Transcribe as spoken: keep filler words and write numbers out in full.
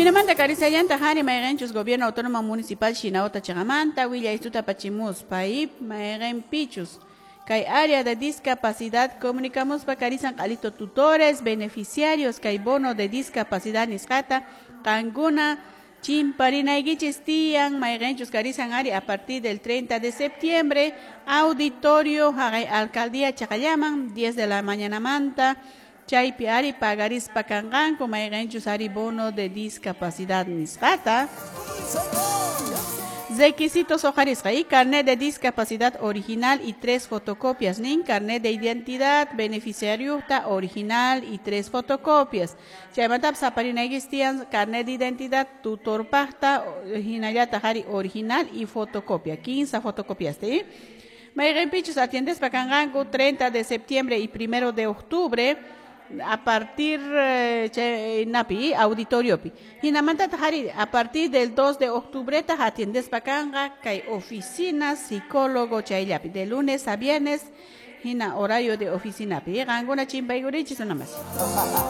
Hinamanta karisallanta hari mayqinchus Gobierno Autónomo Municipal Shinauta chiqamanta willaystuta apachimuspa y mayqinpichus kay área de discapacidad comunicamuspa karisan q'alito tutores beneficiarios kay bono de discapacidad nisqata qankuna chimparinaykichis tiyan mayqinchus karisan ari a partir del treinta de septiembre auditorio haqay alcaldía chaqallaman diez de la mañana manta chaypi ari pagarispa kanqanku mayqinchus ari bono de discapacidad nisqata. Requisitos hojarisqa y carnet de discapacidad original y tres fotocopias, nin carnet de identidad beneficiario original y tres fotocopias. Chaymanta saparinaykis tiyan carnet de identidad tutorpaqta hinallataq ari original y fotocopia, quince fotocopias, ¿sí? Mayqinpichus atiendespa kanqanku treinta de septiembre y primero de octubre a partir eh, napi auditoriopi hinamanta hari a partir del dos de octubre atiendespa kanqa kay oficina psicólogo chayllapi de lunes a viernes hina horario de oficina pi qankuna chimpaykurichis namas.